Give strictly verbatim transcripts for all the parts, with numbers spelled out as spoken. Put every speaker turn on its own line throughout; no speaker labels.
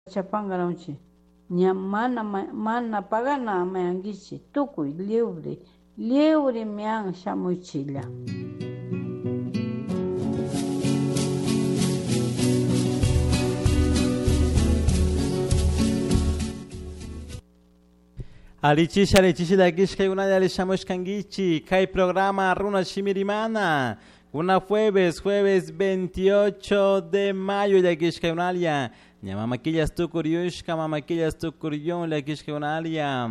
Chapangaranchi ña mana mana pagana mayankichi tukuy libre libre mian shamuchilla.
Alichisha, alichisha, llakishka unalla alishamushkankichik kay programa Runa Shimirimana. Una jueves, jueves veintiocho de mayo, llakishka unalia. Ña mamaquillas tukuryushka, mamaquillas tukuryun, llakishka unalia.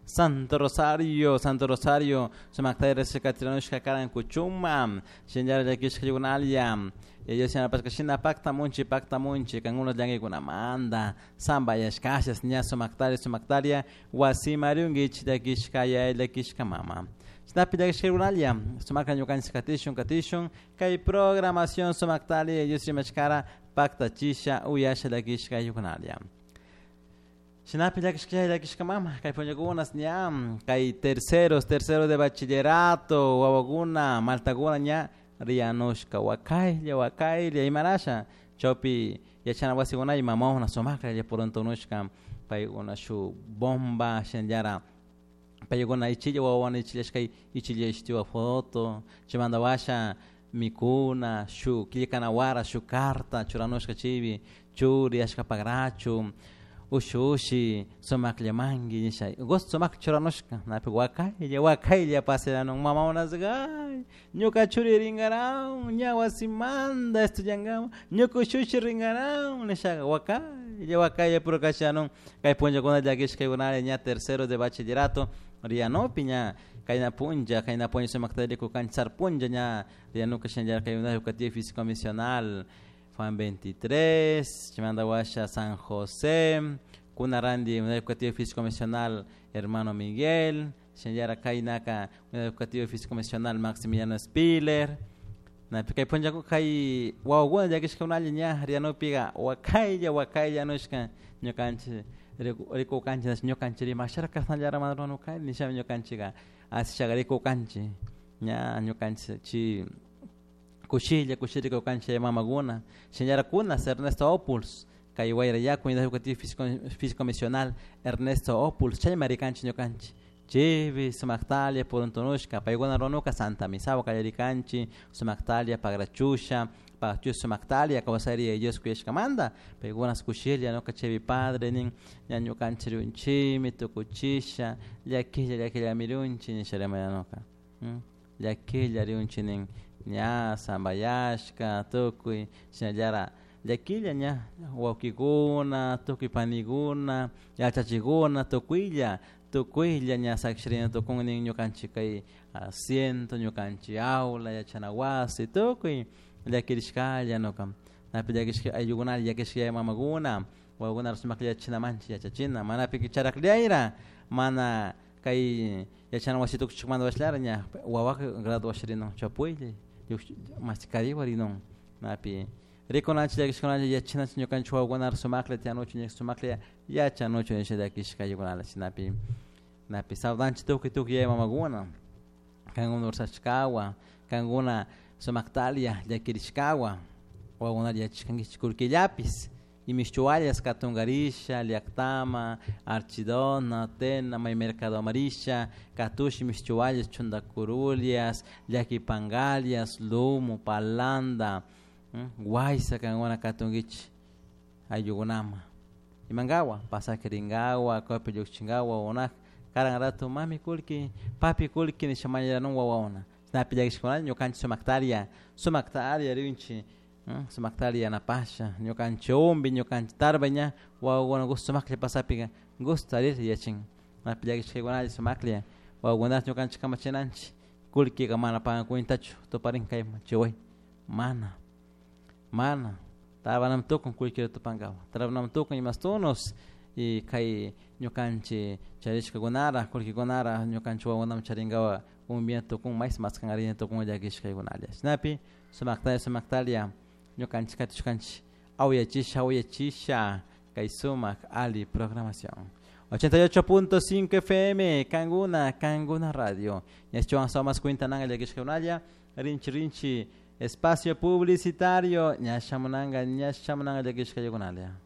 Santo Rosario, Santo Rosario, sumaktayra shikatiranushka karan kuchuma, shinllara llakishka unalia. Ellos se pascashina pacta munchi, pacta munchi, kangunos llankaykunamanta, sambayashkashas, ña sumaktaria, sumaktaria, wasimarunguich, llakishka yaya, llakishka mama. Shinapi llakishka unalia, sumakta ñukanchik katishun, katishun, kay programación sumaktaria, ellos rimashkara, pacta chisha, uyasha llakishka yukunalia. Shinapi llakishka yaya, llakishka mama, kay punllakunas ña, kay terceros, terceros de bachillerato, wawakuna, maltakuna ña, rianushka wakaylla wakaylla imarasha chawpi yachana wasikunay mamawna sumaklla puruntunushka paykuna shu bomba shinallara paykuna ichilla wawawana ichillashkay ichilla ishtiwa foto chaymanta washa mikuna shu killkanawara shu carta churanushka chaypi churi ashkapakrachu ushushi sumakllamanki nisha gusto sumak churanushka napi wakaylla wakaylla paseranun mamawanasqa ay ñuka churi ringaran ña wasimanta estudiankaman ñuka ushushi ringaran nishaqa wakaylla wakaylla purukashanun kay punllakuna llakishkaykunalla ña tercero de bachillerato rianupi ña kayna punlla kayna punlla sumakta rikukanchik sarpunlla ña rianuka shinallara kay unidad educativa físico misional Juan veintitrés, chaymanta washa San José, kunarandi unidad educativa físico misional hermano Miguel, shinallara kaynaka unidad educativa físico misional Maximiliano Spiller, napi kay punlla kay wawakuna llakishkakunalla ña rianupiqa wakaylla wakaylla nushka ñukanchik rikukanchik ñukanchik rimasharka kasnallara mana ruranukani nishami ñukanchikka asishaqa rikukanchik ña ñukanchik chi kushilla kushilla rikukanchik mamakuna shinallara kunas Ernesto Opuls kay Wayrayaku unidad educativa físico, físico misional Ernesto Opuls chayma rikanchik ñukanchik chaypi sumaktalla puruntunushka paykuna runanuka Santa Misawa kallarikanchik sumaktalla pagrachusha pagrachusha sumaktalla kawsari Dios kuyashkamanta paykunas kushilla ñuka chaypi padre nin ña ñukanchik rinchikmi tukuchisha llakilla llakillami rinchik nisha rimayanuka llakilla rinchik nin ña sambayashka tukuy shinallara llakilla ña wawkikuna tukuy panikuna yachachikuna tukuylla tukuylla ña sakshirina tukun nin ñukanchik kay asiento ñukanchik aula yachana wasi tukuy llakirishkalla nuka napi llakishka ayllukunalla llakishka yaya mamakuna wawakuna sumaklla yachachinamanchik yachachina manapi charakllayra mana kay yachana wasi tukuchikmanta washallara ña wawaka graduashrinun chapuylla maskariwa rinun napi rikunanchik llakishkunalla yachanachik ñukanchik wawakunara sumaklla tiyanuchun sumaklla yachanuchun nisha llakishka ayllukunalla shinapi napi saludanchik tukuy tukuy yaya mamakuna kankuna ursashkawa kankuna sumaktalla llakirishkawa wawakunata yachashkankichik kullkillapis imishchuwallas katunkarisha llaktama Archidona Tena may mercadoman risha katush imishchuwallas chuntakurulias llakipankalias lumo palanda waysa kankuna katunkichik ayllukunaman imankawa pasaje rinkawa copi llukchinkawa wawakunaka karan rato mami kullki papi kullki nisha mañaranun wawakuna chashnapi llakishkunalla ñukanchik sumaktalla sumaktalla rinchik sumaktalla yanapasha ñukanchik umpi ñukanchik tarpay ña wawakuna gusto sumaklla pasapika gusto arir yachin napi llakishkaykunalla sumaklla wawakunata ñukanchik kamachinanchik kullkika mana pagan cuentachu tuparin kayman chiway mana mana tarpanami tukun kullkita tupankapak tarpanami tukun imastunos y kay ñukanchik charishkakunara kullkikunara ñukanchik wawakunaman charinkapak umpina tukun may maskankarina tukun llakishkaykunalla shinapi sumaktalla sumaktalla ñukanchik katishkanchik awayachisha awayachisha kay sumak ali programación ochenta y ocho punto cinco F M Kanguna Kanguna Radio ñachuan somas cuintananga llakishkakunalla rinchi rinchi espacio publicitario ñashamunanga ñashamunanga llakishkaykunalla.